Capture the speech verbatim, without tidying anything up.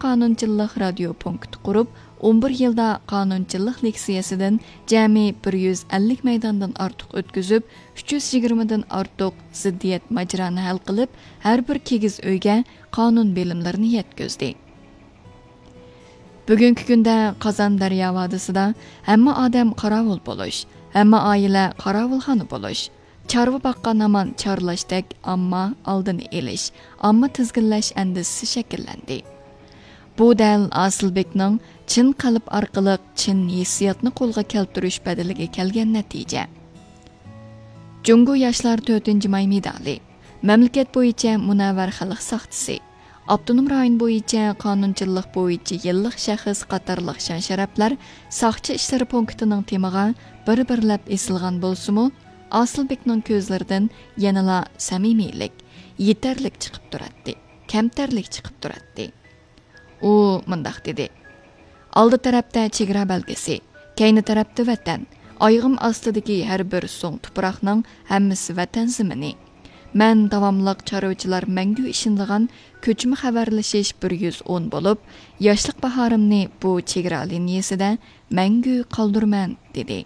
قانۇنچىللىق رادىيو پونكىتى قۇرۇپ، ئون بىر يىلدا قانۇنچىللىق لېكسىيەسىدىن جەمئىي بىر يۈز ئەللىك مەيداندىن ئارتۇق ئۆتكۈزۈپ، ئۈچ يۈز يىگىرمىدىن ئارتۇق زىددىيەت ماجىرانى ھەل قىلىپ، ھەر بىر كىگىز ئۆيگە قانۇن بىلىملىرىنى يەتكۈزدى. بۈگۈنكى كۈندە قازان دەريا ۋادىسىدا ھەممە ئادەم قاراۋۇل بولۇش، ھەممە ئائىلە قاراۋۇلخانا بولۇش، چارۋا باققان ھامان چارلاشتەك ئامما ئالدىنى ئېلىش، ئامما تىزگىنلەش ئەندىزىسى شەكىللەندى. بۇ دەل ئاسىلبېكنىڭ چىن قەلب ئارقىلىق چىن ھېسسىياتنى قولغا كەلتۈرۈش بەدىلىگە كەلگەن نەتىجە. جۇڭگو ياشلار تۆتىنچى ماي مېدالى، مەملىكەت بويىچە مۇنەۋۋەر خەلق ساقچىسى، ئاپتونوم رايون بويىچە قانۇنچىللىق بويىچە يىللىق شەخس قاتارلىق شان-شەرەپلەر ساقچى ئىشلىرى پونكىتىنىڭ تېمىغا بىر-بىرلەپ ئېسىلغان بولسىمۇ، ئاسىلبېكنىڭ كۆزلىرىدىن يەنىلا سەمىمىيلىك، يېتەرلىك چىقىپ تۇراتتى، كەمتەرلىك چىقىپ تۇراتتى. ئۇ مۇنداق دېدى: «ئالدى تەرەپتە چېگرا بەلگىسى، كەينى تەرەپتە ۋەتەن. ئايىغىم ئاستىدىكى ھەر بىر سۇڭ تۇپراقنىڭ ھەممىسى ۋەتەن زېمىنى. مەن داۋاملىق چارۋىچىلار مەڭگۈ ئىشىنىدىغان كۆچمە خەۋەرلىشىش بىر يۈز ئون بولۇپ، ياشلىق باھارىمنى بۇ چېگرا لىنىيەسىدە مەڭگۈ قالدۇرىمەن» دېدى.